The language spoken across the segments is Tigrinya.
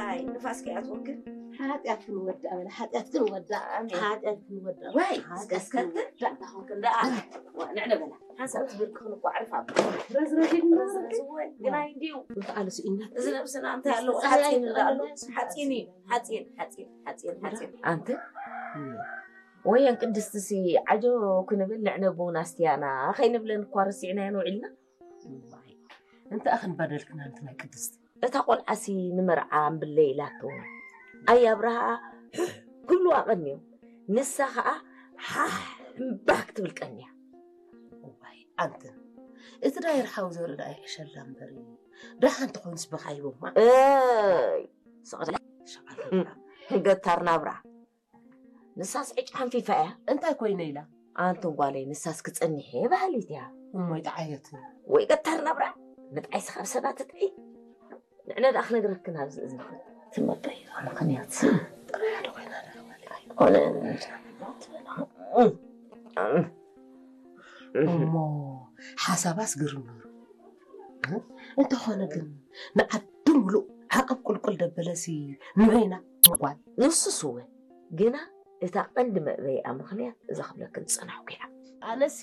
ኣይ ንፋስ ከይኣትወክን። ሓጢኣት ክንወዳእ በላ፣ ሓጢኣት ክንወዳእ፣ ኣሜን። ሓጢኣት ክንወዳእ። ወይ ሓጢኣት እስከስከትን ክንወዳእ። ዳኣኹክን ዳኣ ንዕነ በላ ሓንሳብ ትብል ክኽን እኮ ዓርፍ ኣብ ረዝረዝ ኢልና ረዝረዝ ወይ ግናይ እንዲዩ ምኽኣል ስኢና። እዚ ነብስና እንታይ ኣለዎ ሓፂን እንዳኣሉ ሓፂን እዩ ሓፂን ሓፂን ሓፂን ሓፂን ኣንቲ ወየን ቅድስቲ ሲ ዓጆ ክንብል ንዕነ ብውን ኣስትያና ከይንብለን እኳ ረሲዕናዮ ንውዒልና እንታይ ኣኽን በደልክና ኣንቲ ናይ ቅድስቲ? እታ ቆልዓሲ ንመርዓ እምብለ ኢላቶ ኣይ ኣብርሃ ኩሉ ኣቐንዮ ንሳ ኸዓ ሓሕ እምባህ ክትብል ቀንያ እዋይ ኣንትን እቲ ዳይር ሓው ዘርኢ ዳኣ ይሕሸላ እምበር ደሓን ተኾይንስ ብኻይቦማ እይ ሸቐላ ገታር ናብራ ንሳስ ዕጭ ሓንፊፋ እያ እንታይ ኮይነ ኢላ ኣንትን ጓለይ ንሳስ ክጸኒሐ እየ በሃሊት እያ እሞይ ጠዓየት ወይ ገታር ናብራ ምጥዓይ ስኻብ ሰባት ትጥዒ ንዕነ ደኣ ክነግረክን ኣብዚ እዝንኽን ትመጠይ ምኽንያት ጥራይ ሓደ ኮይና ኮነ እሞ ሓሳባስ ግርም ነሩ እንተኾነ ግን ንዓዲ ሙሉእ ዓቐብ ቁልቁል ደበለሲ ንበይና ጓል ንሱስ እወ ግና እታ ቀንዲ መእበይኣ ምኽንያት እዛ ክብለክን ዝጸናሕኩ እያ ኣነሲ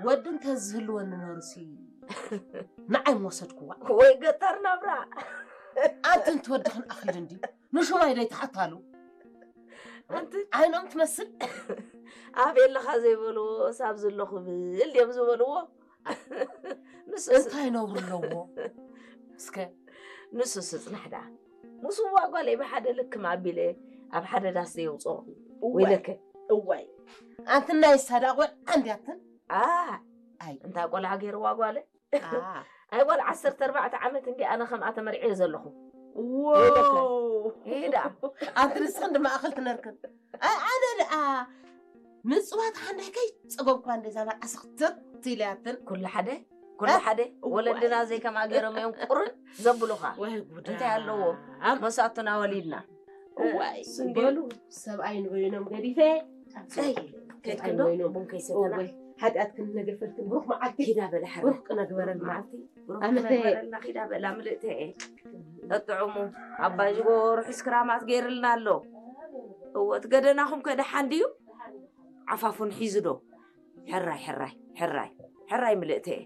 ወዲ እንተዝህልወኒ ነሩሲ ንዓይ ምወሰድክዋ ወይ ገጠር ናብራ ኣንቲ እንትወድኽን ኣኺል እንዲ ንሹማይ ዶ ይትሓታሉ ኣንቲ ዓይኖም ትመስል ኣብ የለኻ ዘይበልዎ ሳብ ዘለኹ ብል ድዮም ዝበልዎ ንሱ እንታይ ነውሩ ኣለዎ እስከ ንሱ ስጽናሕ ደኣ ምስ ዋጓለይ ብሓደ ልክም ኣቢለ ኣብ ሓደ ዳስ ዘየውፅኦ ወይለከ እዋይ ኣንቲ ናይ ሳዳ ቆልዓ እንዲያትን ኣ ኣይ እንታይ ቆልዓ ገይርዋ ጓለ ኣ ኣይ ጓል ዓሰርተ ኣርባዕተ ዓመት እንዲ ኣነ ከምኣ ተመርዕየ ዘለኹ ወይለከ ይሄዳ ኣንቲ ንስኽን ድማ ኣኽል ትነርክን ኣይ ኣነ ደኣ ምፅዋት ሓንዳይ ከይ ፀገብኳ እንደዛ መርዓ ስኽትት ኢለያትን ኩሉ ሓደ ኩሉ ሓደ ወለድና ዘይከምኣ ገይሮም እዮም ቁርን ዘብሉኻ ወይ ጉዳ እንታይ ኣለዎ መሳቱና ወሊድና እዋይ ስንዴ- በሉ ሰብኣይ ንበይኖም ገዲፈ ከይድክዶ ቡን ከይሰተና ሓጢኣት ክንነገፈልክን ብሩክ መዓልቲ ኪዳ በለ ሓረ ብሩክ ክነግበረልና መዓልቲ ብሩክ ኣመተ- ክነግበረልና ኪዳ በላ ምልእተ እየ ጠጥዑሙ ኣባ ጅጎ ርሑስ ክራማት ገይርልና ኣሎ እወ እቲ ገደናኹም ከ ደሓን ድዩ ዓፋፉን ሒዙ ዶ ሕራይ ሕራይ ሕራይ ሕራይ ምልእተ እየ